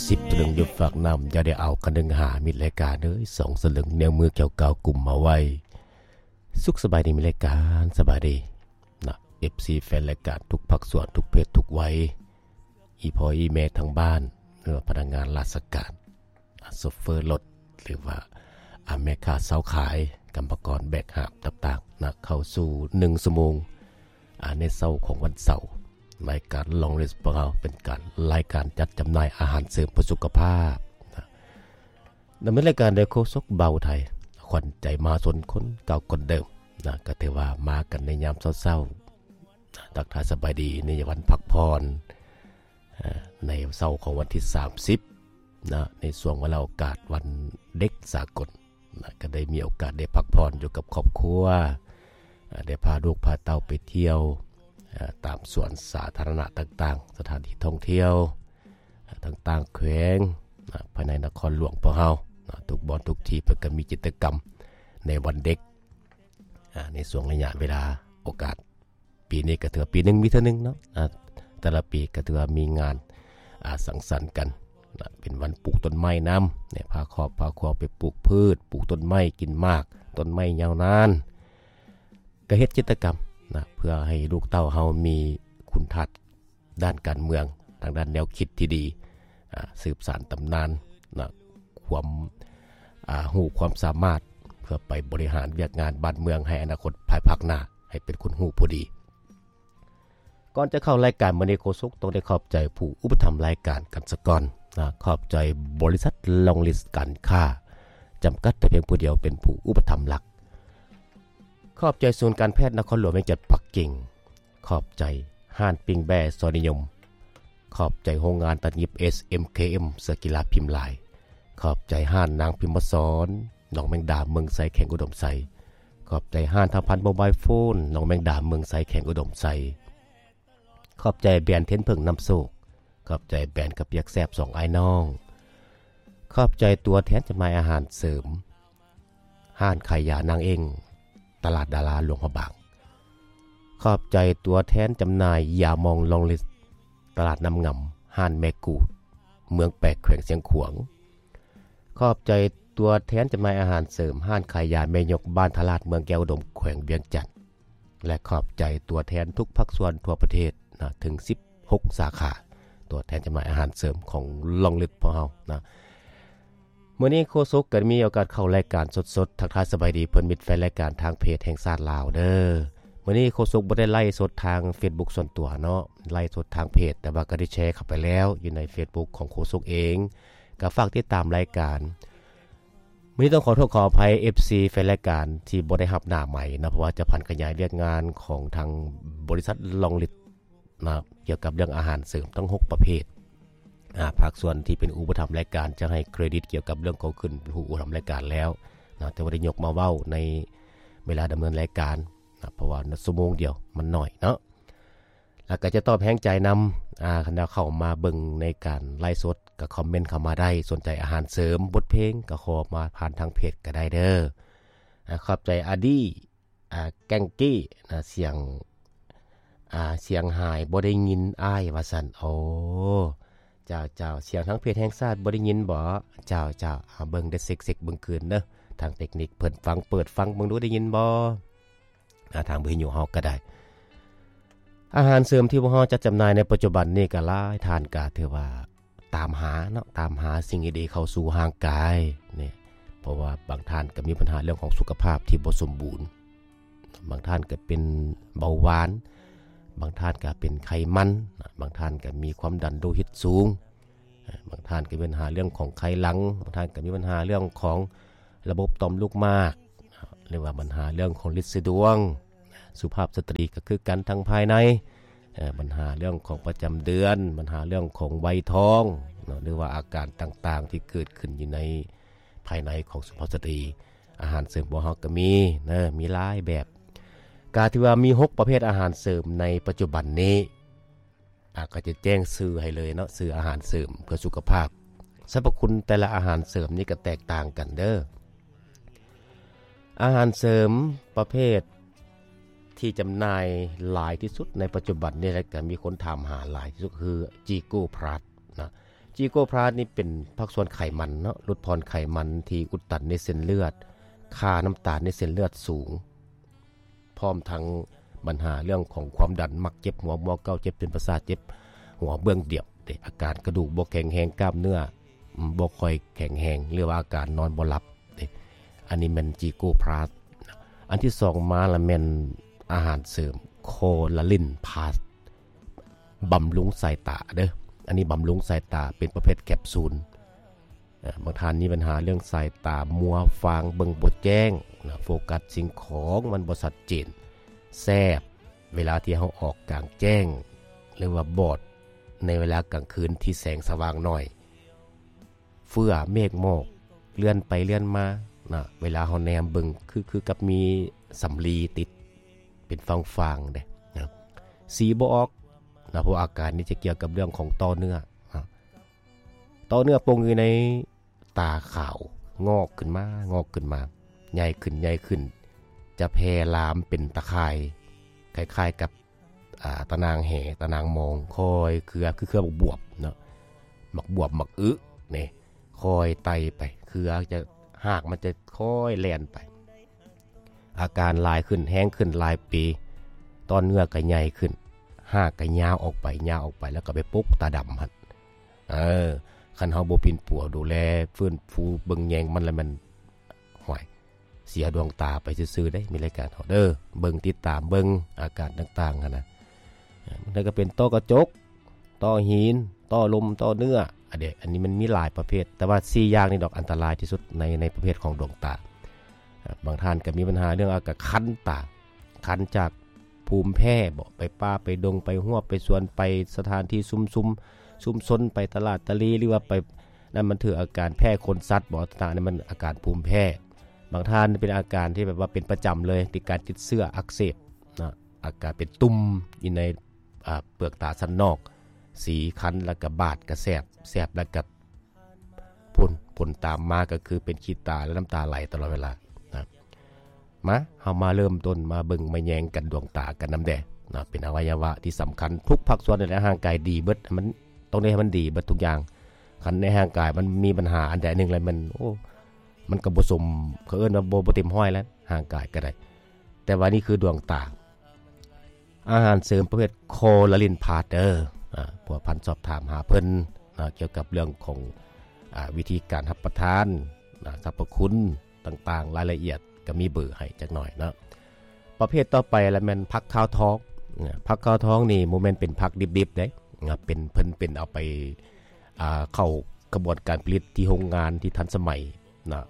ສິບສະລຶງຢູ່ຟາກນ້ຳ ຢ່າໄດ້ເອົາຄັນໜຶ່ງຫາ ມິດລາຍການເອີຍ ສອງສະລຶງແນວມືແຂວກ້າວກຸມມາໄວ້. ສຸກສະບາຍດີມິດລາຍການ ສະບາຍດີນະ ເອັຟຊີ ແຟນລາຍການທຸກພາກສ່ວນ ທຸກເພດ ທຸກໄວ ອີ່ພໍ່ອີ່ແມ່ທາງບ້ານ ຫຼືວ່າພະນັກງານລາຊະການ ອາ ໂຊເຟີລົດ ຫຼືວ່າ ອາ ແມ່ຄ້າຊາວຂາຍ ກຳມະກອນແບກຫາບຕ່າງໆນະ ເຂົ້າສູ່ໜຶ່ງຊົ່ວໂມງ ອາ ໃນເຊົ້າຂອງວັນເສົາ ລາຍການ Long List ຂອງເຮົາເປັນການ ລາຍການຈັດຈຳໜ່າຍອາຫານເສີມເພື່ອສຸຂະພາບນະ ດຳເນີນລາຍການໂດຍໂຄສົກເບົາໄທ ຂວັນໃຈມະຫາຊົນຄົນເກົ່າຄົນເດີມນະ ກໍຖືວ່າມາກັນໃນຍາມເຊົ້າໆ ນະ ທັກທາຍສະບາຍດີໃນວັນພັກຜ່ອນ ເອີ ໃນເຊົ້າຂອງວັນທີສາມສິບນະ ໃນຊ່ວງວາລະໂອກາດວັນເດັກສາກົນນະ ກໍໄດ້ມີໂອກາດໄດ້ພັກຜ່ອນຢູ່ກັບຄອບຄົວ ເອີ ໄດ້ພາລູກພາເຕົ້າໄປທ່ຽວ ເອີ ຕາມສວນສາທາລະນະຕ່າງໆ ສະຖານທີ່ທ່ອງທ່ຽວ ເອີ ຕ່າງໆແຂວງນະ ພາຍໃນນະຄອນຫຼວງພວກເຮົານະ ທຸກບ່ອນທຸກທີ່ເພິ່ນກໍມີກິດຈະກຳໃນວັນເດັກ ອາ ໃນຊ່ວງໄລຍະເວລາໂອກາດ ປີນີ້ກໍຖືວ່າປີໜຶ່ງມີເທື່ອໜຶ່ງເນາະ ອາ ແຕ່ລະປີກໍຖືວ່າມີງານ ອາ ສັງສັນກັນນະ ເປັນວັນປູກຕົ້ນໄມ້ນຳ ໄດ້ພາຄອບພາຄົວໄປປູກພືດ ປູກຕົ້ນໄມ້ກິນໝາກ ຕົ້ນໄມ້ຍາວນານ ກໍເຮັດກິດຈະກຳນະ ເພື່ອໃຫ້ລູກເຕົ້າເຮົາມີຄຸນທາດດ້ານການເມືອງ ທາງດ້ານແນວຄິດທີ່ດີ ອາ ສືບສານຕຳນານນະ ຄວາມ ອາ ຮູ້ຄວາມສາມາດ ເພື່ອໄປບໍລິຫານວຽກງານບ້ານເມືອງໃຫ້ອະນາຄົດພາຍພາກໜ້າ ໃຫ້ເປັນຄົນຮູ້ຜູ້ດີ. ກ່ອນຈະເຂົ້າລາຍການມື້ນີ້ ໂຄສົກຕ້ອງໄດ້ຂອບໃຈຜູ້ອຸປະຖຳລາຍການກັນສະກ່ອນນະ ຂອບໃຈບໍລິສັດ Long List ການຄ້າ ຈຳກັດແຕ່ພຽງຜູ້ດຽວເປັນຜູ້ອຸປະຖຳຫຼັກ. ຂອບໃຈສູນການແພດນະຄອນຫຼວງວຽງຈັນປັກກິ່ງ. ຂອບໃຈຮ້ານປີ້ງແບ້ຊອຍນິຍົມ. ຂອບໃຈໂຮງງານຕັດຫຍິບ ເອສ ເອັມ ເຄ ເອັມ ເສື້ອກິລາພິມລາຍ. ຂອບໃຈຮ້ານນາງພິມມະສອນ ໜອງແມງດາ ເມືອງໄຊ ແຂວງອຸດົມໄຊ. ຂອບໃຈຮ້ານທາພັນໂມບາຍໂຟນ ໜອງແມງດາ ເມືອງໄຊ ແຂວງອຸດົມໄຊ. ຂອບໃຈແບຣນເທັນເຜິ້ງນຳໂຊກ. ຂອບໃຈແບຣນກະປຽກແຊບສອງອ້າຍນ້ອງ. ຂອບໃຈຕົວແທນຈຳໜ່າຍອາຫານເສີມ ຮ້ານຂາຍຢານາງເອັ້ງ ຕະຫຼາດດາລາ ຫຼວງພະບາງ. ຂອບໃຈຕົວແທນຈຳໜ່າຍຢາມອງ Long List ຕະຫຼາດນ້ຳງຳ ຮ້ານແມ່ກູດ ເມືອງແປກ ແຂວງຊຽງຂວາງ. ຂອບໃຈຕົວແທນຈຳໜ່າຍອາຫານເສີມ ຮ້ານຂາຍຢາແມ່ຍົກ ບ້ານທ່າລາດ ເມືອງແກ້ວອຸດົມ ແຂວງວຽງຈັນ. ແລະ ຂອບໃຈຕົວແທນທຸກພາກສ່ວນທົ່ວປະເທດນະ ເຖິງສິບຫົກສາຂາ ຕົວແທນຈຳໜ່າຍອາຫານເສີມຂອງ Long List ພວກເຮົານະ. ມື້ນີ້ໂຄສົກກໍໄດ້ມີໂອກາດເຂົ້າລາຍການສົດໆ ທັກທາຍສະບາຍດີເພື່ອນມິດແຟນລາຍການທາງເພຈແຫ່ງຊາດລາວເດີ. ມື້ນີ້ໂຄສົກບໍ່ໄດ້ໄລຟ໌ສົດທາງ Facebook ສ່ວນຕົວເນາະ, ໄລຟ໌ສົດທາງເພຈ ແຕ່ວ່າກໍໄດ້ແຊເຂົ້າໄປແລ້ວ ຢູ່ໃນ Facebook ຂອງໂຄສົກເອງ. ກໍຝາກຕິດຕາມລາຍການ. ມື້ນີ້ຕ້ອງຂໍໂທດຂໍອະໄພ ເອັຟຊີ ແຟນລາຍການທີ່ບໍ່ໄດ້ຮັບໜ້າໄມເນາະ, ເພາະວ່າຈະຜັນຂະຫຍາຍວຽກງານຂອງທາງບໍລິສັດ Long List ນະ ກ່ຽວກັບເລື່ອງອາຫານເສີມທັງຫົກປະເພດ. ອາ ພາກສ່ວນທີ່ເປັນອຸປະຖຳລາຍການຈະໃຫ້ເຄຣດິດກ່ຽວກັບເລື່ອງຂອງຂຶ້ນເປັນຜູ້ອຸປະຖຳລາຍການແລ້ວນະ, ແຕ່ວ່າໄດ້ຍົກມາເວົ້າໃນເວລາດຳເນີນລາຍການນະ, ເພາະວ່າຊົ່ວໂມງດຽວມັນໜ້ອຍເນາະ. ແລ້ວກໍຈະຕອບແຮງໃຈນຳ ອາ ຄັນວ່າເຂົ້າມາເບິ່ງໃນການໄລຟ໌ສົດ ກໍຄອມເມັນເຂົ້າມາໄດ້, ສົນໃຈອາຫານເສີມ, ບົດເພງ ກໍຂໍມາຜ່ານທາງເພຈກໍໄດ້ເດີ. ອາ ຂອບໃຈອາດີ ອາ ແກງກີ້ນະ, ສຽງ ອາ ສຽງຫາຍບໍ່ໄດ້ຍິນອ້າຍວ່າຊັ້ນ. ໂອ້ ເຈົ້າ ເຈົ້າ ສຽງທາງເພຈແຫ່ງຊາດບໍ່ໄດ້ຍິນບໍ? ເຈົ້າ ເຈົ້າ ເອົາເບິ່ງເດີ ເຊັກ ເຊັກເບິ່ງຄືນເດີ, ທາງເຕັກນິກເພິ່ນຟັງ ເປີດຟັງເບິ່ງດູ ໄດ້ຍິນບໍ? ອາ ທາງວິທະຍຸເຮົາກໍໄດ້. ອາຫານເສີມທີ່ພວກເຮົາຈັດຈຳໜ່າຍໃນປັດຈຸບັນນີ້ກໍຫຼາຍທ່ານກໍຖືວ່າຕາມຫາເນາະ, ຕາມຫາສິ່ງດີໆເຂົ້າສູ່ຮ່າງກາຍນີ້, ເພາະວ່າບາງທ່ານກໍມີບັນຫາເລື່ອງຂອງສຸຂະພາບທີ່ບໍ່ສົມບູນ, ບາງທ່ານກໍເປັນເບົາຫວານ, ບາງທ່ານກໍເປັນໄຂມັນ, ບາງທ່ານກໍມີຄວາມດັນໂລຫິດສູງ. ບາງທ່ານກໍມີບັນຫາເລື່ອງຂອງໄຂຫຼັງ, ບາງທ່ານກໍມີບັນຫາເລື່ອງຂອງລະບົບຕ່ອມລູກໝາກ ຫຼືວ່າບັນຫາເລື່ອງຂອງລິດສີດວງ. ສຸພາບສະຕຣີກໍຄືກັນ ທັງພາຍໃນ, ບັນຫາເລື່ອງຂອງປະຈຳເດືອນ, ບັນຫາເລື່ອງຂອງໄວທອງເນາະ ຫຼືວ່າອາການຕ່າງໆທີ່ເກີດຂຶ້ນຢູ່ໃນພາຍໃນຂອງສຸພາບສະຕຣີ. ອາຫານເສີມຂອງເຮົາກໍມີເນາະ, ມີຫຼາຍແບບ. ກໍຖືວ່າມີຫົກປະເພດອາຫານເສີມໃນປັດຈຸບັນນີ້. ອາ ກໍຈະແຈ້ງຊື່ໃຫ້ເລີຍເນາະ, ຊື່ອາຫານເສີມເພື່ອສຸຂະພາບ. ສັບພະຄຸນແຕ່ລະອາຫານເສີມນີ້ກໍແຕກຕ່າງກັນເດີ. ອາຫານເສີມປະເພດທີ່ຈຳໜ່າຍຫຼາຍທີ່ສຸດໃນປັດຈຸບັນນີ້ ແລະ ກໍມີຄົນຖາມຫາຫຼາຍທີ່ສຸດ ຄື ຈີໂກພລັສນະ. ຈີໂກພລັສນີ້ເປັນພາກສ່ວນໄຂມັນເນາະ, ຫຼຸດຜ່ອນໄຂມັນທີ່ອຸດຕັນໃນເສັ້ນເລືອດ, ຄ່ານ້ຳຕານໃນເສັ້ນເລືອດສູງ, ພ້ອມທັງບັນຫາເລື່ອງຂອງຄວາມດັນ, ມັກເຈັບຫົວ, ຫົວເກົ້າ, ເຈັບເສັ້ນປະສາດ, ເຈັບຫົວເບື້ອງດຽວເດ້, ອາການກະດູກບໍ່ແຂງແຮງ, ກ້າມເນື້ອ ອືມ ບໍ່ຄ່ອຍແຂງແຮງ ຫຼືວ່າອາການນອນບໍ່ຫຼັບເດ້. ອັນນີ້ແມ່ນຈີໂກພລັສ. ອັນທີສອງມາລະແມ່ນອາຫານເສີມໂຄລາລິນພລັສ ບຳລຸງສາຍຕາເດີ້. ອັນນີ້ບຳລຸງສາຍຕາ ເປັນປະເພດແຄບຊູນ. ເອີ ບາງທ່ານມີບັນຫາເລື່ອງສາຍຕາມົວຟາງ ເບິ່ງບໍ່ແຈ້ງນະ, ໂຟກັສສິ່ງຂອງມັນບໍ່ຊັດເຈນ, ແສບເວລາທີ່ເຮົາອອກກາງແຈ້ງ ຫຼືວ່າບອດໃນເວລາກາງຄືນທີ່ແສງສະຫວ່າງໜ້ອຍ, ເຟືອເມກໝອກເລື່ອນໄປເລື່ອນມານະ, ເວລາເຮົາແນມເບິ່ງຄື ຄືກັບມີສຳລີຕິດເປັນຟາງໆເດ້ນະ, ສີບໍ່ອອກນະ, ເພາະອາການນີ້ຈະກ່ຽວກັບເລື່ອງຂອງຕໍ່ເນື້ອນະ. ຕໍ່ເນື້ອປົງຢູ່ໃນຕາຂາວ ງອກຂຶ້ນມາ ງອກຂຶ້ນມາ ໃຫຍ່ຂຶ້ນ ໃຫຍ່ຂຶ້ນ ຈະແຜ່ລາມເປັນຕາຂ່າຍ ຄ້າຍໆກັບ ອ່າ ຕາໜ່າງແຫ ຕາໜ່າງມອງ ຄ່ອຍເຄືອ ຄືເຄືອບັກບວບເນາະ, ບັກບວບ ບັກອຶນີ້ ຄ່ອຍໄຕ່ໄປ ເຄືອຈະ ຮາກມັນຈະຄ່ອຍແລ່ນໄປ. ອາການຫຼາຍຂຶ້ນ ແຮງຂຶ້ນຫຼາຍປີ ຕໍ່ເນື້ອກໍໃຫຍ່ຂຶ້ນ ຮາກກໍຍາວອອກໄປ ຍາວອອກໄປ ແລ້ວກໍໄປປົກຕາດຳຫັ້ນ. ເອີ ຄັນເຮົາບໍ່ປິ່ນປົວດູແລ ຟື້ນຟູເບິ່ງແຍງມັນ ແລ້ວມັນ ຫ້ວຍ ເສຍດວງຕາໄປຊື່ໆເດ້. ມີລາຍການເຮົາເດີ ເບິ່ງ ຕິດຕາມເບິ່ງອາການຕ່າງໆຫັ້ນນະ. ມັນກໍເປັນຕໍ່ກະຈົກ ຕໍ່ຫີນ ຕໍ່ລົມ ຕໍ່ເນື້ອ ອັນເດ ອັນນີ້ມັນມີຫຼາຍປະເພດ, ແຕ່ວ່າສີ່ຢ່າງນີ້ດອກອັນຕະລາຍທີ່ສຸດໃນ ໃນປະເພດຂອງດວງຕາ. ບາງທ່ານກໍມີບັນຫາເລື່ອງອາການຄັນຕາ, ຄັນຈາກພູມແພ້ບໍ, ໄປປ່າໄປດົງ ໄປຮົ້ວໄປສວນ ໄປສະຖານທີ່ຊຸມຊຸມ ຊຸມຊົນ ໄປຕະຫຼາດຕະລີ ຫຼືວ່າໄປນັ້ນ ມັນຖືກອາການແພ້ຂົນສັດບໍ, ຕ່າງໆ ນັ້ນມັນອາການພູມແພ້. ບາງທ່ານເປັນອາການທີ່ແບບວ່າເປັນປະຈຳເລີຍ ຕິດການຕິດເຊື້ອອັກເສບນະ, ອາການເປັນຕຸ່ມຢູ່ໃນ ອ່າ ເປືອກຕາຊັ້ນນອກ ສີຄັນ ແລ້ວກະບາດກະແສບ ແສບແລ້ວກະພຸ້ນ ຜົນຕາມມາກໍຄືເປັນຂີ້ຕາ ແລະ ນ້ຳຕາໄຫຼຕະຫຼອດເວລານະ. ມາ ເຮົາມາເລີ່ມຕົ້ນມາເບິ່ງມາແຍງກັນດວງຕາກັນນຳແດ່ນະ, ເປັນອະໄວຍະວະທີ່ສຳຄັນ ທຸກພາກສ່ວນໃນຮ່າງກາຍດີເບິດ, ໃຫ້ມັນ ຕ້ອງໄດ້ໃຫ້ມັນດີເບິດທຸກຢ່າງ. ຄັນໃນຮ່າງກາຍມັນມີບັນຫາອັນໃດອັນໜຶ່ງແລ້ວ ມັນ ໂອ້ ມັນກໍບໍ່ສົມ ເຂົາເອີ້ນວ່າບໍ່ ບໍ່ເຕັມຮ້ອຍແລ້ວ ຮ່າງກາຍກໍໄດ້. ແຕ່ວ່ານີ້ຄືດວງຕາ ອາຫານເສີມປະເພດໂຄລາລິນພລັສເດີ. ອາ ພົວພັນສອບຖາມຫາເພິ່ນນະ ກ່ຽວກັບເລື່ອງຂອງ ອາ ວິທີການຮັບປະທານນະ, ສັບພະຄຸນຕ່າງໆ ລາຍລະອຽດກໍມີເບີໃຫ້ຈັກໜ້ອຍເນາະ. ປະເພດຕໍ່ໄປລະແມ່ນຜັກຂາວທອງນະ. ຜັກຂາວທອງນີ້ບໍ່ແມ່ນເປັນຜັກດິບໆເດ້ນະ, ເປັນ ເພິ່ນເປັນເອົາໄປ ອາ ເຂົ້າຂະບວນການຜະລິດທີ່ໂຮງງານທີ່ທັນສະໄໝນະ.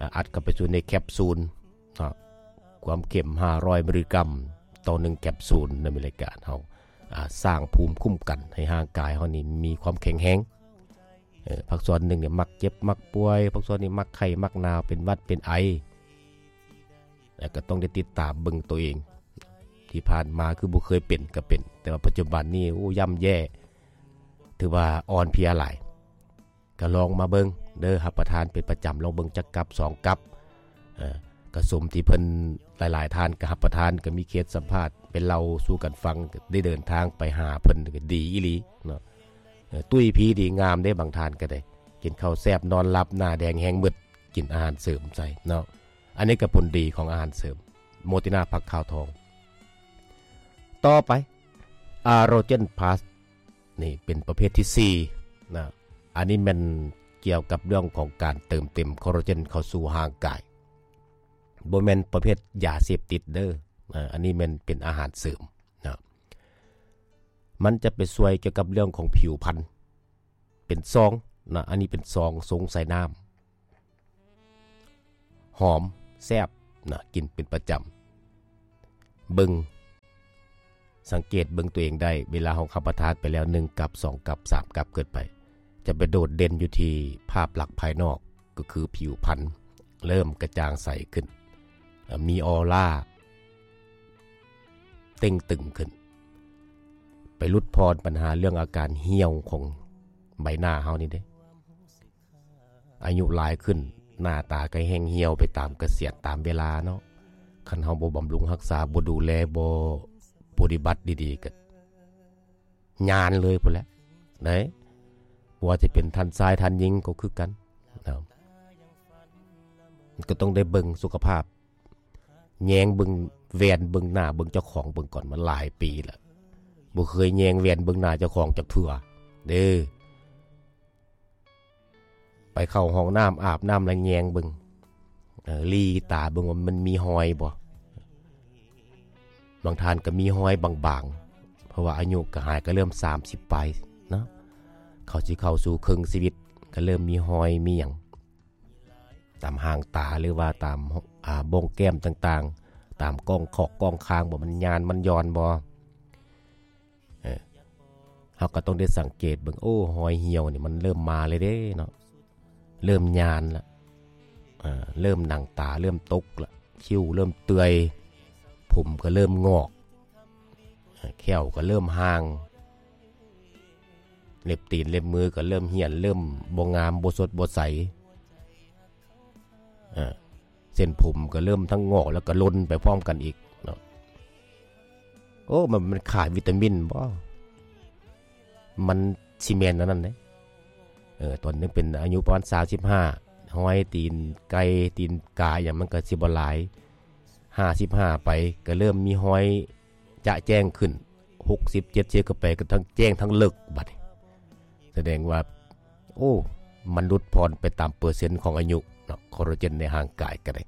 ອາ ອັດເຂົ້າໄປສູ່ໃນແຄບຊູນເນາະ, ຄວາມເຂັ້ມຫ້າຮ້ອຍມິລລິກຣາມຕໍ່ໜຶ່ງແຄບຊູນນະ. ມີລາຍການເຮົາ ອາ ສ້າງພູມຄຸ້ມກັນໃຫ້ຮ່າງກາຍເຮົານີ້ມີຄວາມແຂງແຮງ. ເອີ ພາກສ່ວນໜຶ່ງນີ້ມັກເຈັບມັກປ່ວຍ, ພາກສ່ວນນີ້ມັກໄຂ້ມັກໜາວ ເປັນຫວັດເປັນໄອ, ແລ້ວກໍຕ້ອງໄດ້ຕິດຕາມເບິ່ງໂຕເອງ. ທີ່ຜ່ານມາຄືບໍ່ເຄີຍເປັນກໍເປັນ, ແຕ່ວ່າປັດຈຸບັນນີ້ ໂອ້ ຍ່ຳແຍ່ ຖືວ່າອ່ອນເພຍຫຼາຍ. ກໍລອງມາເບິ່ງເດີ, ຮັບປະທານເປັນປະຈຳ ລອງເບິ່ງຈັກກັບສອງກັບ. ເອີ ກໍສົມທີ່ເພິ່ນ ຫຼາຍໆທ່ານກໍຮັບປະທານ, ກໍມີເຄສສຳພາດໄປເລົ່າສູ່ກັນຟັງ, ໄດ້ເດີນທາງໄປຫາເພິ່ນ ກໍດີອີ່ຫຼີເນາະ. ເອີ ຕຸ້ຍພີດີງາມເດ້, ບາງທ່ານກໍໄດ້ກິນເຂົ້າແຊບນອນຫຼັບ ໜ້າແດງແຮງມືດ, ກິນອາຫານເສີມໃສ່ເນາະ. ອັນນີ້ກໍຜົນດີຂອງອາຫານເສີມ ໂມຕິນາ ຜັກຂາວທອງ. ຕໍ່ໄປ ອາໂຣເຈນພລັສ ນີ້ເປັນປະເພດທີສີ່ນະ. ອັນນີ້ແມ່ນກ່ຽວກັບເລື່ອງຂອງການເຕີມເຕັມຄໍລາເຈນເຂົ້າສູ່ຮ່າງກາຍ, ບໍ່ແມ່ນປະເພດຢາເສບຕິດເດີ. ອາ ອັນນີ້ແມ່ນເປັນອາຫານເສີມນະ. ມັນຈະໄປຊ່ວຍກ່ຽວກັບເລື່ອງຂອງຜິວພັນ ເປັນຊອງນະ, ອັນນີ້ເປັນຊອງຊົງໃສ່ນ້ຳ ຫອມ ແຊບນະ, ກິນເປັນປະຈຳ. ເບິ່ງ ສັງເກດເບິ່ງຕົວເອງໄດ້, ເວລາເຮົາຮັບປະທານໄປແລ້ວ ໜຶ່ງກັບ ສອງກັບ ສາມກັບຂຶ້ນໄປ ຈະໄປໂດດເດັ່ນຢູ່ທີ່ພາບລັກພາຍນອກ ກໍຄືຜິວພັນເລີ່ມກະຈ່າງໃສຂຶ້ນ, ມີອອລາເຕ່ງຕຶງຂຶ້ນ, ໄປຫຼຸດຜ່ອນບັນຫາເລື່ອງອາການຫ່ຽວຂອງໃບໜ້າເຮົານີ້ເດ້. ອາຍຸຫຼາຍຂຶ້ນ ໜ້າຕາກໍແຫ້ງຫ່ຽວໄປຕາມກະສຽນຕາມເວລາເນາະ. ຄັນເຮົາບໍ່ບຳລຸງຮັກສາ ບໍ່ດູແລ ບໍ່ປະຕິບັດດີໆ ກໍຍານເລີຍພຸ້ນແຫຼະເດ້. ບໍ່ວ່າຈະເປັນທ່ານຊາຍທ່ານຍິງກໍຄືກັນເນາະ ກໍຕ້ອງໄດ້ເບິ່ງສຸຂະພາບ ແຍງເບິ່ງແວ່ນເບິ່ງໜ້າເບິ່ງເຈົ້າຂອງເບິ່ງກ່ອນ ມາຫຼາຍປີແລ້ວ ບໍ່ເຄີຍແຍງແວ່ນເບິ່ງໜ້າເຈົ້າຂອງຈັກເທື່ອເດ້. ໄປເຂົ້າຫ້ອງນ້ຳ ອາບນ້ຳແລ້ວແຍງເບິ່ງ ເອີ ຫຼີຕາເບິ່ງວ່າມັນມີຮອຍບໍ່. ບາງທ່ານກໍມີຮອຍບາງໆ ເພາະວ່າອາຍຸກໍຫາຍ ກໍເລີ່ມສາມສິບປາຍເນາະ ເຂົາຊິເຂົ້າສູ່ເຄິ່ງຊີວິດ ກໍເລີ່ມມີຮອຍມີຫຍັງ ຕາມຫາງຕາ ຫຼືວ່າຕາມ ອ່າ ໂບ່ງແກ້ມຕ່າງໆ ຕາມກ້ອງຂອກກ້ອງຄາງ ບໍ່ ມັນຍານມັນຢ່ອນບໍ່. ເອີ ເຮົາກໍຕ້ອງໄດ້ສັງເກດເບິ່ງ ໂອ້ ຮອຍຫ່ຽວນີ້ມັນເລີ່ມມາແລ້ວເດ້ເນາະ ເລີ່ມຍານລະ ເອີ ເລີ່ມໜັງຕາເລີ່ມຕົກລະ ຄິ້ວເລີ່ມເປື່ອຍ ຜົມກໍເລີ່ມງອກ ເອີ ແຂ້ວກໍເລີ່ມຫ່າງ ເລັບຕີນເລັບມືກໍເລີ່ມຫ້ຽນ ເລີ່ມບໍ່ງາມ ບໍ່ສົດບໍ່ໃສ ເອີ ເສັ້ນຜົມກໍເລີ່ມທັງງອກ ແລ້ວກໍຫຼົ່ນໄປພ້ອມກັນອີກເນາະ. ໂອ້ ມັນ ມັນຂາດວິຕາມິນບໍ? ມັນຊິແມ່ນອັນນັ້ນເດ້. ເອີ ຕອນຍັງເປັນອາຍຸປະມານສາມສິບຫ້າ ຮອຍຕີນໄກ່ ຕີນກາຫຍັງ ມັນກໍຊິບໍ່ຫຼາຍ. ຫ້າສິບຫ້າໄປ ກໍເລີ່ມມີຮອຍຈະແຈ້ງຂຶ້ນ. ຫົກສິບ ເຈັດສິບ ກໍໄປ ກໍທັງແຈ້ງທັງເລິກບັດນີ້ ສະແດງວ່າ ໂອ້ ມັນຫຼຸດຜ່ອນໄປຕາມເປີເຊັນຂອງອາຍຸເນາະ ຄໍລາເຈນໃນຮ່າງກາຍກໍໄດ້.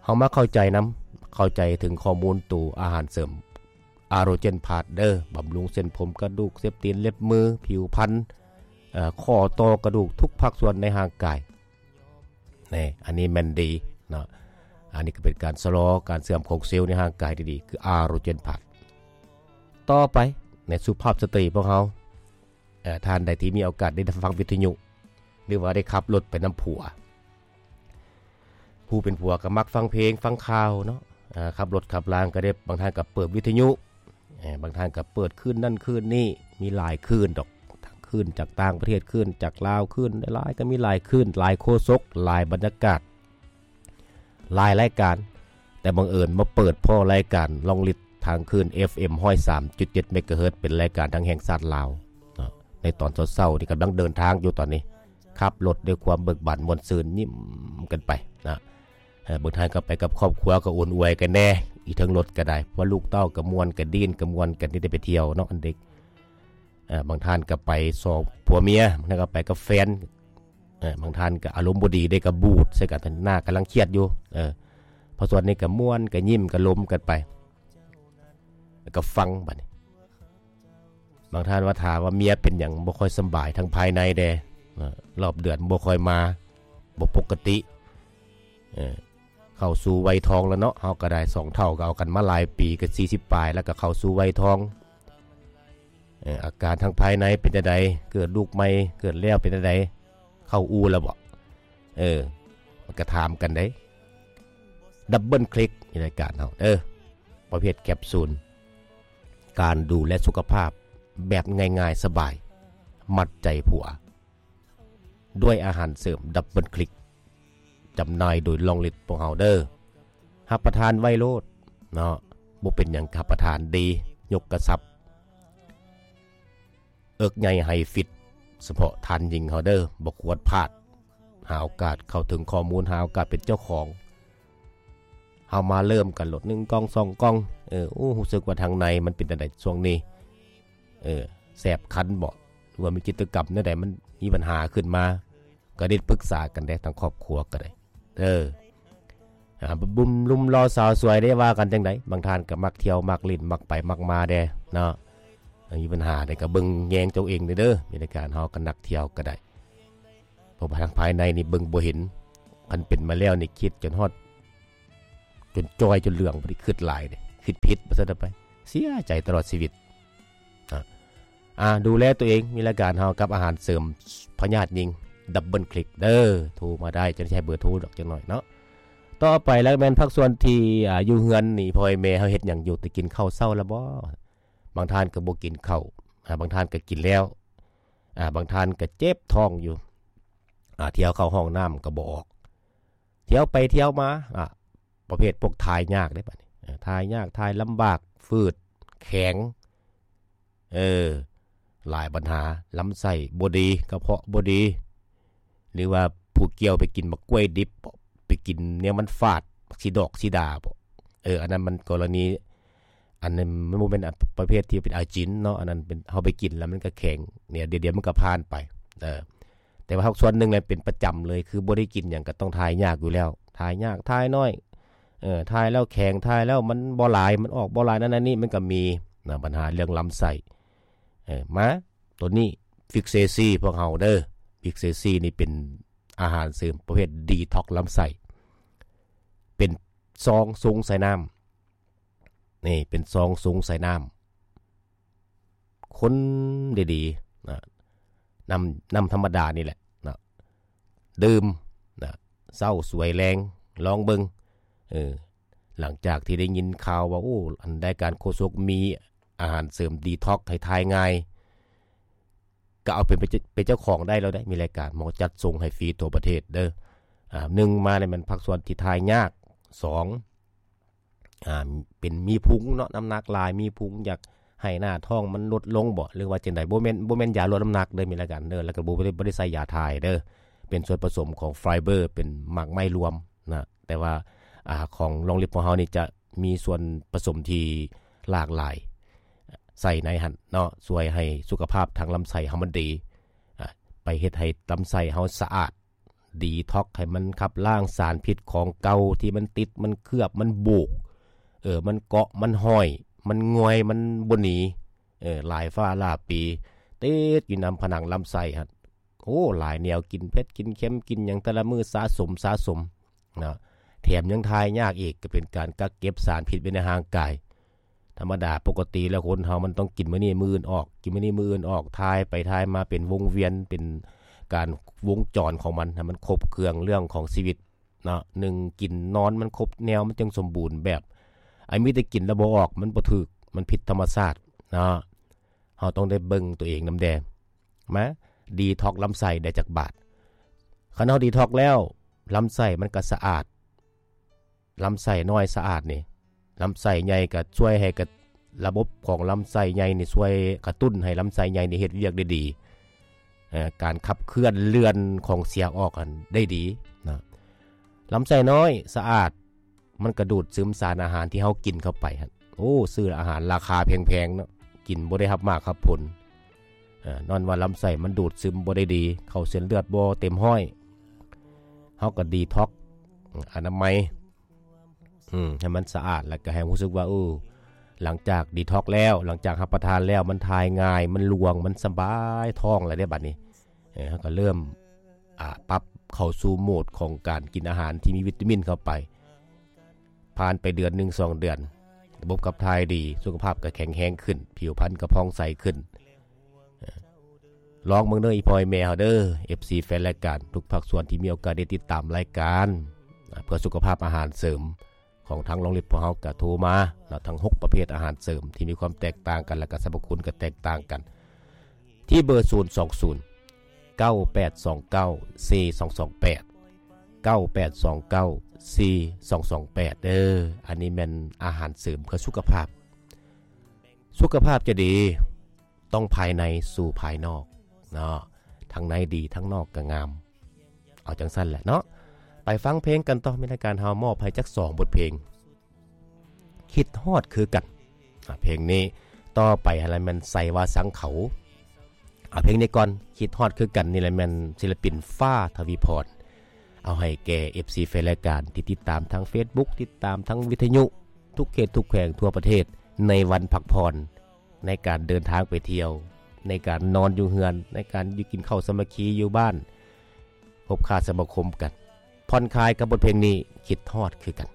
ເຮົາມາເຂົ້າໃຈນຳ ເຂົ້າໃຈເຖິງຂໍ້ມູນໂຕອາຫານເສີມ ອາໂຣເຈນພລັສ ເດີ ບຳລຸງເສັ້ນຜົມ ກະດູກ ເລັບຕີນ ເລັບມື ຜິວພັນ ເອີ ຂໍ້ຕໍ່ ກະດູກ ທຸກພາກສ່ວນໃນຮ່າງກາຍ. ແນ່ ອັນນີ້ແມ່ນດີເນາະ ອັນນີ້ກໍເປັນການຊະລໍການເສື່ອມຂອງເຊວໃນຮ່າງກາຍທີ່ດີ ຄືອາໂຣເຈນພລັສ. ຕໍ່ໄປ ໃນສຸພາບສະຕຣີພວກເຮົາ ເອີ ທ່ານໃດທີ່ມີໂອກາດໄດ້ຟັງວິທະຍຸ ຫຼືວ່າໄດ້ຂັບລົດໄປນຳຜົວ ຜູ້ເປັນຜົວກໍມັກຟັງເພງຟັງຂ່າວເນາະ ເອີ ຂັບລົດຂັບລາງກໍໄດ້ ບາງທ່ານກໍເປີດວິທະຍຸ ເອີ ບາງທ່ານກໍເປີດຄື້ນນັ້ນຄື້ນນີ້ ມີຫຼາຍຄື້ນດອກ ທັງຄື້ນຈາກຕ່າງປະເທດ ຄື້ນຈາກລາວ ຄື້ນຫຼາຍໆ ກໍມີຫຼາຍຄື້ນ ຫຼາຍໂຄສົກ ຫຼາຍບັນຍາກາດ ຫຼາຍລາຍການ ແຕ່ບັງເອີນມາເປີດພໍ້ລາຍການລອງລິດທາງຄື້ນ ເອັຟເອັມ ຮ້ອຍສາມຈຸດເຈັດ ເມກາເຮີດ ເປັນລາຍການທາງແຫ່ງຊາດລາວເນາະ. ໃນຕອນເຊົ້າໆນີ້ ກຳລັງເດີນທາງຢູ່ຕອນນີ້ ຂັບລົດດ້ວຍຄວາມເບີກບານມ່ວນຊື່ນ ຍິ້ມກັນໄປນະ. ເອີ ບາງທ່ານກໍໄປກັບຄອບຄົວ ກໍອຸ່ນອວຍກັນແດ່ ອີກເທິງລົດກໍໄດ້ ເພາະລູກເຕົ້າກໍມ່ວນ ກໍດີ້ນ ກໍມ່ວນກັນ ທີ່ໄດ້ໄປທ່ຽວເນາະ ອັນເດັກ. ເອີ ບາງທ່ານກໍໄປສອງຜົວເມຍ ບາງທ່ານກໍໄປກັບແຟນ ເອີ ບາງທ່ານກໍອາລົມບໍ່ດີເດ້ ກໍບູດໃສ່ກັນ ໜ້າກຳລັງຄຽດຢູ່ ເອີ ພາກສ່ວນນີ້ກໍມ່ວນ ກໍຍິ້ມ ກໍລົມກັນໄປ ແລ້ວກໍຟັງບັດນີ້. ບາງທ່ານວ່າ ຖ້າວ່າເມຍເປັນຫຍັງບໍ່ຄ່ອຍສຳບາຍທາງພາຍໃນແດ່ ເອີ ຮອບເດືອນບໍ່ຄ່ອຍມາ ບໍ່ປົກກະຕິ ເອີ ເຂົ້າສູ່ໄວທອງແລ້ວເນາະ ເຮົາກໍໄດ້ ສອງເຖົ້າກໍເອົາກັນມາຫຼາຍປີ ກໍສີ່ສິບປາຍ ແລ້ວກໍເຂົ້າສູ່ໄວທອງ. ເອີ ອາການທາງພາຍໃນເປັນຈັ່ງໃດ? ເກີດລູກໃໝ່ ເກີດແລ້ວເປັນຈັ່ງໃດ? ເຂົ້າອູ່ແລ້ວບໍ? ເອີ ມັນກໍຖາມກັນເດ້. ດັບເບິນຄລິກໃນລາຍການເຮົາເດີ ປະເພດແຄບຊູນ ການດູແລສຸຂະພາບແບບງ່າຍໆ ສະບາຍ ມັດໃຈຜົວ ດ້ວຍອາຫານເສີມດັບເບິນຄລິກ ຈຳໜ່າຍໂດຍລອງລິດພວກເຮົາເດີ. ຮັບປະທານໄວໂລດເນາະ ບໍ່ເປັນຫຍັງ ຮັບປະທານດີ ຍົກກະຊັບ ເອິກໃຫຍ່ໄຮຟິດ ສະເພາະທ່ານຍິງເຮົາເດີ ບໍ່ຄວນພາດ. ຫາໂອກາດເຂົ້າເຖິງຂໍ້ມູນ ຫາໂອກາດເປັນເຈົ້າຂອງ. ເຮົາມາເລີ່ມກັນໂລດ ໜຶ່ງກ່ອງ ສອງກ່ອງ ເອີ ໂອ້ ຮູ້ສຶກວ່າທາງໃນມັນເປັນຈັ່ງໃດຊ່ວງນີ້ ເອີ ແສບຄັນບໍ ຫຼືວ່າມີກິດຈະກຳແນວໃດມັນມີບັນຫາຂຶ້ນມາ ກໍໄດ້ປຶກສາກັນໄດ້ ທາງຄອບຄົວກໍໄດ້ເດີ. ອ່າ ໜຸ່ມຫຼໍ່ສາວສວຍໄດ້ວ່າກັນຈັ່ງໃດ? ບາງທ່ານກໍມັກທ່ຽວ ມັກຫຼິ້ນ ມັກໄປມັກມາແດ່ເນາະ ມີບັນຫາໃດກໍເບິ່ງແຍງເຈົ້າເອງເດີ. ມີລາຍການເຮົາກໍນັກທ່ຽວກໍໄດ້ ເພາະວ່າທາງພາຍໃນນີ້ເບິ່ງບໍ່ເຫັນ ຄັນເປັນມາແລ້ວນີ້ຄິດຈົນຮອດ ຈົນຈ່ອຍຈົນເຫຼືອງ ບໍ່ໄດ້ຄິດຫຼາຍເດ້ ຄິດຜິດວ່າຊັ້ນໄປ ເສຍໃຈຕະຫຼອດຊີວິດ. ອ່າ ອ່າ ດູແລຕົວເອງ ມີລາຍການເຮົາກັບອາຫານເສີມພະຍາດຍິງ ດັບເບິນຄລິກເດີ ໂທມາໄດ້ ຈະໃຫ້ເບີໂທດອກຈັກໜ້ອຍເນາະ. ຕໍ່ໄປແລ້ວແມ່ນພາກສ່ວນທີ່ ອ່າ ຢູ່ເຮືອນນີ້ ພໍ່ແມ່ເຮົາເຮັດຫຍັງຢູ່ ໄດ້ກິນເຂົ້າເຊົ້າແລ້ວບໍ່? ບາງທ່ານກໍບໍ່ກິນເຂົ້າ ອ່າ ບາງທ່ານກໍກິນແລ້ວ ອ່າ ບາງທ່ານກໍເຈັບທ້ອງຢູ່ ອ່າ ທ່ຽວເຂົ້າຫ້ອງນ້ຳກໍບໍ່ອອກ ທ່ຽວໄປທ່ຽວມາ ອ່າ ປະເພດພວກຖ່າຍຍາກເດ້ບັດນີ້ ເອີ ຖ່າຍຍາກ ຖ່າຍລຳບາກ ຝືດ ແຂງ ເອີ ຫຼາຍບັນຫາ ລຳໄສ້ບໍ່ດີ ກະເພາະບໍ່ດີ ຫຼືວ່າຜູ້ກ່ຽວໄປກິນໝາກກ້ວຍດິບບໍ ໄປກິນແນວມັນຝາດ ໝາກສີດອກສີດາບໍ ເອີ ອັນນັ້ນມັນກໍລະນີ ອັນນັ້ນມັນບໍ່ແມ່ນປະເພດທີ່ເປັນອາຈິນເນາະ ອັນນັ້ນເປັນ ເຮົາໄປກິນແລ້ວມັນກໍແຂງ ດຽວ ດຽວມັນກໍຜ່ານໄປ ເອີ ແຕ່ວ່າພາກສ່ວນໜຶ່ງແຫຼະເປັນປະຈຳເລີຍ ຄືບໍ່ໄດ້ກິນຫຍັງກໍຕ້ອງຖ່າຍຍາກຢູ່ແລ້ວ ຖ່າຍຍາກ ຖ່າຍໜ້ອຍ ເອີ ຖ່າຍແລ້ວແຂງ ຖ່າຍແລ້ວມັນບໍ່ຫຼາຍ ມັນອອກບໍ່ຫຼາຍ ນັ້ນອັນນີ້ ມັນກໍມີນະ ບັນຫາເລື່ອງລຳໄສ້ ເອີ ມາ ໂຕນີ້ ວິກເຊຊີ ພວກເຮົາເດີ ວິກເຊຊີນີ້ເປັນອາຫານເສີມປະເພດດີທັອກລຳໄສ້ ເປັນຊອງຊົງໃສ່ນ້ຳ ນີ້ເປັນຊອງຊົງໃສ່ນ້ຳ ຄົນດີໆນະ ນ້ຳ ນ້ຳທຳມະດານີ້ແຫຼະນະ ດື່ມນະ ເຊົ້າສວຍແລງ ລອງເບິ່ງ ເອີ ຫຼັງຈາກທີ່ໄດ້ຍິນຂ່າວວ່າ ໂອ້ ອັນ ລາຍການໂຄສົກມີອາຫານເສີມດີທັອກໃຫ້ຖ່າຍງ່າຍ ກໍເອົາເປັນ ເປັນເຈົ້າຂອງໄດ້ແລ້ວເດ້ ມີລາຍການໝໍຈັດສົ່ງໃຫ້ຟຣີທົ່ວປະເທດເດີ ອາ ໜຶ່ງມາແລ້ວແມ່ນພາກສ່ວນທີ່ຖ່າຍຍາກ ສອງ ອາ ເປັນມີພຸງເນາະ ນ້ຳໜັກຫຼາຍ ມີພຸງ ຢາກໃຫ້ໜ້າທ້ອງມັນລົດລົງບໍ ຫຼືວ່າຈັ່ງໃດ ບໍ່ແມ່ນ ບໍ່ແມ່ນຢາລົດນ້ຳໜັກເດີ ມີລາຍການເດີ ແລ້ວກໍບໍ່ໄດ້ ບໍ່ໄດ້ໃສ່ຢາຖ່າຍເດີ ເປັນສ່ວນປະສົມຂອງໄຟເບີ ເປັນໝາກໄມ້ລວມນະ ແຕ່ວ່າ ອາ ຂອງລອງລິບຂອງເຮົານີ້ຈະມີສ່ວນປະສົມທີ່ຫຼາກຫຼາຍໃສ່ໃນຫັ້ນເນາະ ຊ່ວຍໃຫ້ສຸຂະພາບທາງລຳໄສ້ເຮົາມັນດີ ອາ ໄປເຮັດໃຫ້ລຳໄສ້ເຮົາສະອາດ ດີທັອກໃຫ້ມັນຂັບລ້າງສານພິດຂອງເກົ່າທີ່ມັນຕິດ ມັນເຄືອບ ມັນໂບກ ເອີ ມັນເກາະ ມັນຫ້ອຍ ມັນງ່ວຍ ມັນບໍ່ໜີ ເອີ ຫຼາຍຟ້າຫຼາຍປີ ຕິດຢູ່ນຳຜະໜັງລຳໄສ້ຫັ້ນ ໂອ້ ຫຼາຍແນວ ກິນເຜັດ ກິນເຄັມ ກິນຫຍັງແຕ່ລະມື້ສະສົມ ສະສົມເນາະ ແຖມຍັງຖ່າຍຍາກອີກ ກໍເປັນການກັກເກັບສານພິດໄວ້ໃນຮ່າງກາຍ ທຳມະດາປົກກະຕິແລ້ວຄົນເຮົາມັນຕ້ອງກິນມື້ນີ້ມື້ອື່ນອອກ ກິນມື້ນີ້ມື້ອື່ນອອກ ຖ່າຍໄປຖ່າຍມາເປັນວົງວຽນ ເປັນການວົງຈອນຂອງມັນ ໃຫ້ມັນຄົບເຄື່ອງເລື່ອງຂອງຊີວິດເນາະ ໜຶ່ງ ກິນນອນມັນຄົບແນວ ມັນຈຶ່ງສົມບູນແບບ ອັນມີແຕ່ກິນແລ້ວບໍ່ອອກ ມັນບໍ່ຖືກ ມັນຜິດທຳມະຊາດເນາະ ເຮົາຕ້ອງໄດ້ເບິ່ງຕົວເອງນຳແດ່ ມາດີທັອກລຳໄສ້ໄດ້ຈັກບາດ ຄັນເຮົາດີທັອກແລ້ວ ລຳໄສ້ມັນກໍສະອາດ ລຳໄສ້ນ້ອຍສະອາດນີ້ ລຳໄສ້ໃຫຍ່ກໍຊ່ວຍໃຫ້ກະ ລະບົບຂອງລຳໄສ້ໃຫຍ່ນີ້ຊ່ວຍກະຕຸ້ນໃຫ້ລຳໄສ້ໃຫຍ່ນີ້ເຮັດວຽກໄດ້ດີ ເອີ ການຂັບເຄື່ອນເລື່ອນຂອງເສຍອອກຫັ້ນໄດ້ດີນະ ລຳໄສ້ນ້ອຍສະອາດ ມັນກະດູດຊຶມສານອາຫານທີ່ເຮົາກິນເຂົ້າໄປຫັ້ນ ໂອ້ ຊື້ອາຫານລາຄາແພງໆເນາະ ກິນບໍ່ໄດ້ຮັບໝາກຮັບຜົນ ເອີ ຍ້ອນວ່າລຳໄສ້ມັນດູດຊຶມບໍ່ໄດ້ດີ ເຂົ້າເສັ້ນເລືອດບໍ່ເຕັມຮ້ອຍ ເຮົາກໍດີທັອກ ອະນາໄມ ອືມ ໃຫ້ມັນສະອາດ ແລ້ວກໍໃຫ້ຮູ້ສຶກວ່າ ເອີ ຫຼັງຈາກດີທັອກແລ້ວ ຫຼັງຈາກຮັບປະທານແລ້ວ ມັນຖ່າຍງ່າຍ ມັນຫຼວງ ມັນສະບາຍທ້ອງແລ້ວເດ້ບັດນີ້ ເອີ ເຮົາກໍເລີ່ມ ອາ ປັບເຂົ້າສູ່ໂໝດຂອງການກິນອາຫານທີ່ມີວິຕາມິນເຂົ້າໄປ ຜ່ານໄປເດືອນໜຶ່ງສອງເດືອນ ລະບົບຂັບຖ່າຍດີ ສຸຂະພາບກໍແຂງແຮງຂຶ້ນ ຜິວພັນກໍຜ່ອງໃສຂຶ້ນ ເອີ ລອງເບິ່ງເດີ ອີ່ພໍ່ອີ່ແມ່ເຮົາເດີ ເອັຟຊີ ແຟນລາຍການ ທຸກພາກສ່ວນທີ່ມີໂອກາດໄດ້ຕິດຕາມລາຍການ ເພື່ອສຸຂະພາບອາຫານເສີມຂອງທາງໂຮງຮຽນພວກເຮົາ ກະໂທມາເນາະ ທັງຫົກປະເພດອາຫານເສີມທີ່ມີຄວາມແຕກຕ່າງກັນ ແລະກະສັບພະຄຸນກໍແຕກຕ່າງກັນ ທີ່ເບີ ສູນສອງສູນ ເກົ້າແປດສອງເກົ້າ ສີ່ສອງສອງແປດ ເກົ້າແປດສອງເກົ້າ ສີ່ສອງສອງແປດ ເດີ ອັນນີ້ແມ່ນອາຫານເສີມເພື່ອສຸຂະພາບ ສຸຂະພາບຈະດີ ຕ້ອງພາຍໃນສູ່ພາຍນອກເນາະ ທັງໃນດີ ທັງນອກກໍງາມ ເອົາຈັ່ງຊັ້ນແຫຼະເນາະ ໄປຟັງເພງກັນຕໍ່ ມີລາຍການເຮົາມອບໃຫ້ຈັກສອງບົດເພງ ຄິດຮອດຄືກັນ ອາ ເພງນີ້ ຕໍ່ໄປຫັ້ນລະແມ່ນໄຊວາສັງເຂົາ ເອົາເພງນີ້ກ່ອນ ຄິດຮອດຄືກັນ ນີ້ລະແມ່ນສິລະປິນ ຟ້າ ທະວີພອນ ເອົາໃຫ້ແກ່ເອັຟຊີແຟນລາຍການທີ່ຕິດຕາມທາງເຟສບຸກ ຕິດຕາມທາງວິທະຍຸ ທຸກເຂດທຸກແຂວງທົ່ວປະເທດ ໃນວັນພັກຜ່ອນ ໃນການເດີນທາງໄປທ່ຽວ ໃນການນອນຢູ່ເຮືອນ ໃນການຢູ່ກິນເຂົ້າສາມັກຄີຢູ່ບ້ານ ພົບປະສະມາຄົມກັນ ຜ່ອນຄາຍກັບບົດເພງນີ້ ຄິດຮອດຄືກັນ.